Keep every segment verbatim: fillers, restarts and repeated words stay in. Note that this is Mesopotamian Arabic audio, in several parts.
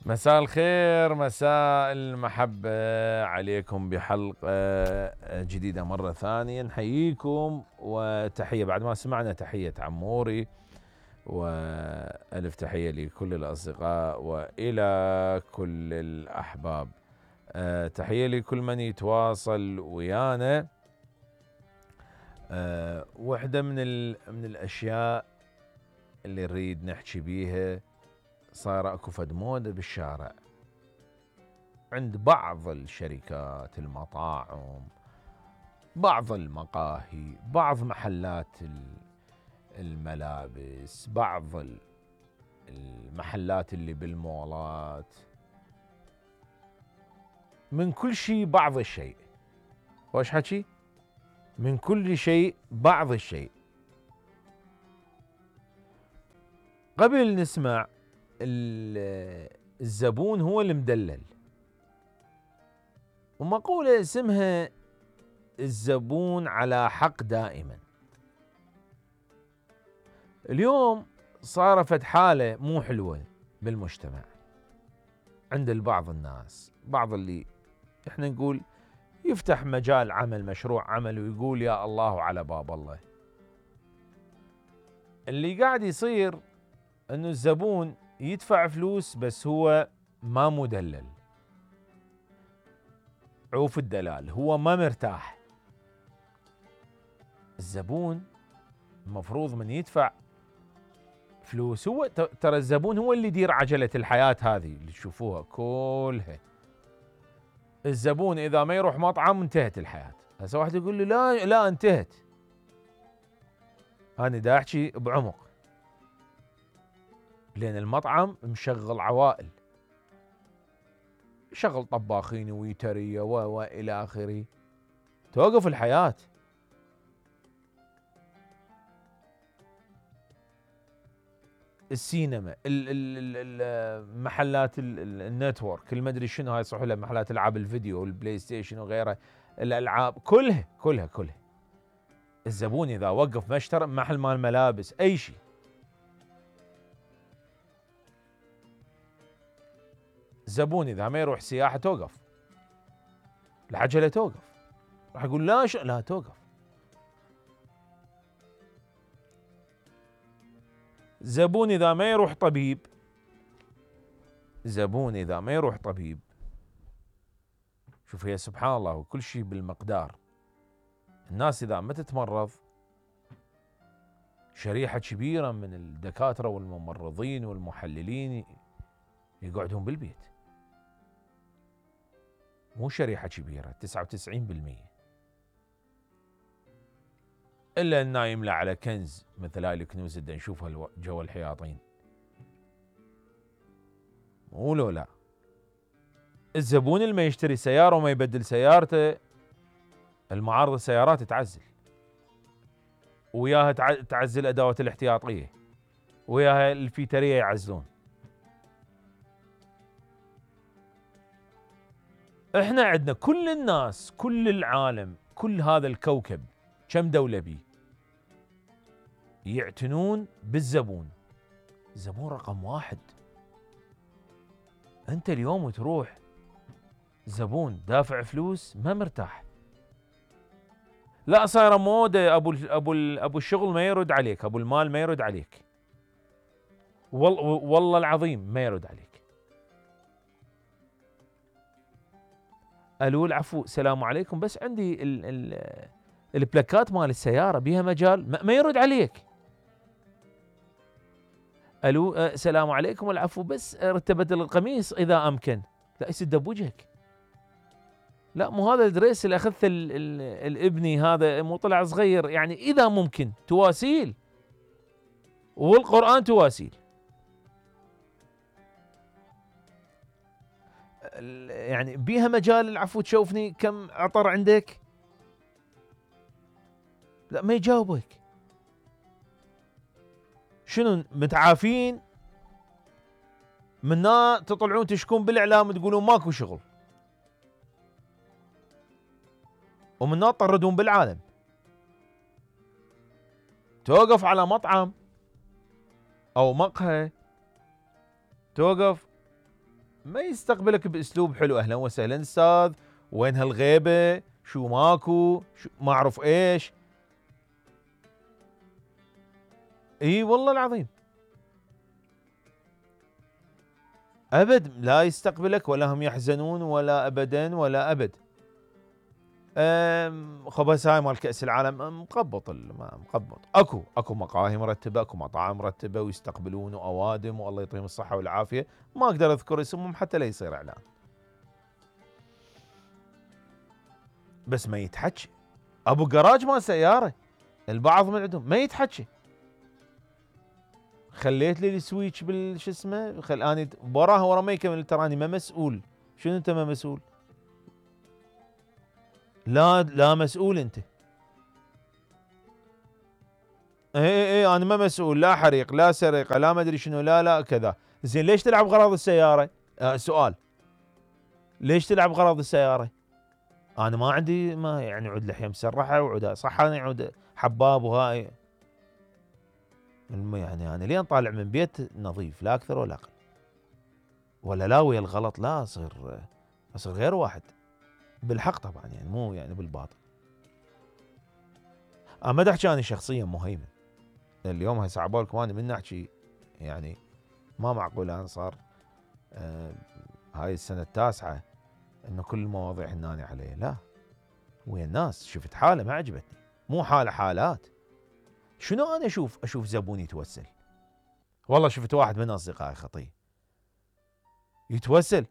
مساء الخير، مساء المحبة عليكم بحلقة جديدة مرة ثانية. نحييكم وتحية بعد ما سمعنا تحية عموري، وألف تحية لكل الأصدقاء وإلى كل الأحباب. أه تحية لكل من يتواصل ويانا. أه واحدة من, من الأشياء اللي نريد نحكي بيها، صار اكو فد موضة بالشارع عند بعض الشركات، المطاعم، بعض المقاهي، بعض محلات الملابس، بعض المحلات اللي بالمولات، من كل شيء بعض الشيء. وش حكي؟ من كل شيء بعض الشيء. قبل نسمع الزبون هو المدلل، ومقولة اسمها الزبون على حق دائما. اليوم صارت حالة مو حلوة بالمجتمع عند البعض الناس، بعض اللي احنا نقول يفتح مجال عمل، مشروع عمل، ويقول يا الله على باب الله. اللي قاعد يصير انه الزبون يدفع فلوس بس هو ما مدلل، عوف الدلال، هو ما مرتاح. الزبون المفروض من يدفع فلوس، هو ترى الزبون هو اللي يدير عجلة الحياة هذه اللي تشوفوها كلها. الزبون إذا ما يروح مطعم انتهت الحياة. هسه واحد يقول لي لا لا انتهت. أنا دا أحكي بعمق، لأن المطعم مشغل عوائل، شغل طباخين ويترية وإلى آخره، توقف الحياة. السينما، المحلات النتورك، المدري شنو هاي صحوا له، محلات العاب الفيديو والبلاي ستيشن وغيرها، الألعاب كلها كلها كلها. الزبون إذا وقف مشترى محل مال ملابس أي شيء، الزبون إذا ما يروح سياحة توقف، العجلة توقف. راح يقول لا ش... لا توقف. زبون إذا ما يروح طبيب، زبون إذا ما يروح طبيب، شوف يا سبحان الله وكل شيء بالمقدار. الناس إذا ما تتمرض، شريحة كبيرة من الدكاترة والممرضين والمحللين يقعدون بالبيت. مو شريحة كبيرة، تسعة وتسعين بالمئة، إلا النايم له على كنز مثل هاي الكنوز اللي نشوفها جوا الحياطين. مو لو لا. الزبون اللي ما يشتري سيارة وما يبدل سيارته، المعارض السيارات تعزل، وياها تعزل أدوات الاحتياطية، وياها الفيترية يعزلون. احنا عندنا كل الناس، كل العالم، كل هذا الكوكب، كم دولة بيه يعتنون بالزبون. الزبون رقم واحد. انت اليوم تروح زبون دافع فلوس ما مرتاح، لا صايره موده، ابو ابو ابو الشغل ما يرد عليك، ابو المال ما يرد عليك، والله والله العظيم ما يرد عليك. الو العفو السلام عليكم، بس عندي ال ال البلاكات مال السياره بيها مجال، ما يرد عليك. الو السلام عليكم العفو، بس رتبت القميص اذا امكن. لا يسد بوجهك. لا مو هذا الدريس اللي اخذته الابني، هذا مو طلع صغير، يعني اذا ممكن تواسيل، والقرآن تواسيل. يعني بيها مجال العفو تشوفني كم عطر عندك؟ لا ما يجاوبك. شنو متعافين منا تطلعون تشكون بالاعلام تقولون ماكو شغل، ومنا تطردون بالعالم. توقف على مطعم او مقهى، توقف ما يستقبلك باسلوب حلو، اهلا وسهلا استاذ، وين هالغيبه، شو ماكو، شو ما اعرف ايش. اي والله العظيم ابد لا يستقبلك، ولا هم يحزنون ولا ابدا ولا ابد. خبز هاي مال كأس العالم مقبط، مقبط. اكو اكو مقاهي مرتبه، اكو مطاعم مرتبه ويستقبلون واوادم والله يعطيهم الصحه والعافيه، ما اقدر اذكر اسمهم حتى لا يصير اعلان. بس ما يتحكي ابو جراج مال سياره، البعض من عندهم ما يتحكي. خليت لي السويتش بالش اسمه، خل اني وراها ورا ما يكمل تراني ما مسؤول. شنو انت ما مسؤول؟ لا لا مسؤول انت. اي اي اي انا ما مسؤول، لا حريق لا سرقه لا ما ادري شنو، لا لا كذا. زين ليش تلعب غراض السياره؟ آه سؤال، ليش تلعب غراض السياره؟ انا ما عندي، ما يعني عود لحيه مسرحه وعود صح، انا عود حباب وهاي يعني. انا لين طالع من بيت نظيف لا اكثر ولا اقل، ولا لا ويا الغلط لا اصير اصير غير واحد بالحق طبعا، يعني مو يعني بالباطل. انا ما احكي انا شخصيا مهيمن، اليوم هسه عبالكم انا من احكي يعني ما معقول. انا صار آه هاي السنه التاسعه انه كل المواضيع هناني علي، لا ويا الناس شفت حاله ما عجبتني، مو حاله حالات. شنو انا اشوف اشوف زبون يتوسل، والله شفت واحد من اصدقائي خطيه يتوسل،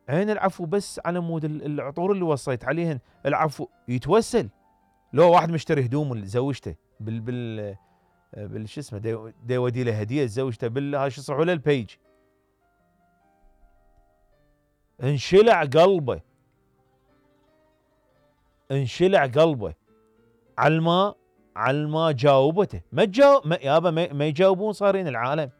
عين العفو بس على مود العطور اللي وصيت عليهن، العفو يتوسل. لو واحد مشتري هدوم لزوجته بال بال بال شو اسمه دي, دي ودي له هديه لزوجته بال هاي شو يصحوا له البيج، انشلع قلبه انشلع قلبه على ما على ما جاوبته. ما تجاوب يابا، ما, ما يجاوبون صارين العالم.